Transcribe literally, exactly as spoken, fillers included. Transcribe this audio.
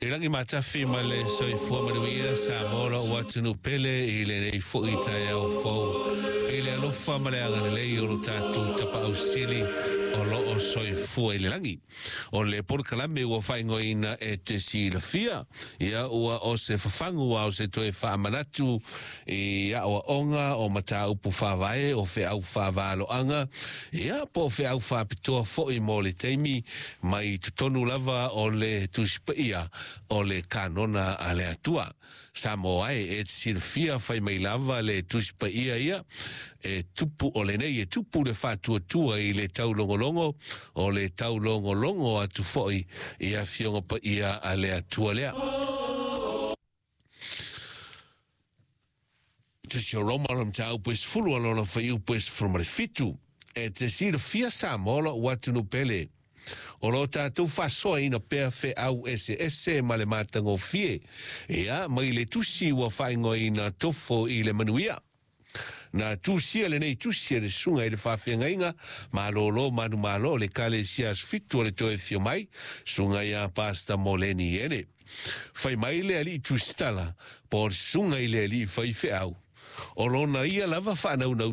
I lagi matafi ma le soifua manuia Samoa lou atunuu pele i lenei fo'i taeao fou i le alofa ma le agalelei o lo tatou Tapaau Sili o loo soifua i le lagi. O le polokalame ua faaigoaina E Te Silafia, ia ua o se fafagu a o se toe faamanatu i aoaoga o mataupu faavae o feau faavaloaga, ia po o feau faapitoa fo'i mo le taimi mai totonu lava o le Tusi Paia o le Kanona a le Atua. Samoa e, e te silafia fai mai lava le Tusi Paia ia e tupu o lenei e tupu le faatuatua i le taulogologo o le taulogologo atu fo'i i afioga paia a le Atua lea. Tusi o Roma o le mataupu e sefulu a lona fuaiupu e sefulu ma le fitu. E te silafia Samoa lou atunuu pele, o lo tatou faasoaina pea feau eseese ma le matagofie, ia mai le tusi ua faaigoaina Tofo i le Manuia. Na tusia lenei tusi e le susuga i le faafeagaiga malōlō manumalo o le Ekalesia Aso Fitu o le Toe Afio Mai, susuga ia Pastor Moleni Ene. Fai mai le alii tusitala po o le susuga i le alii faifeau, o lona ia lava faanaunau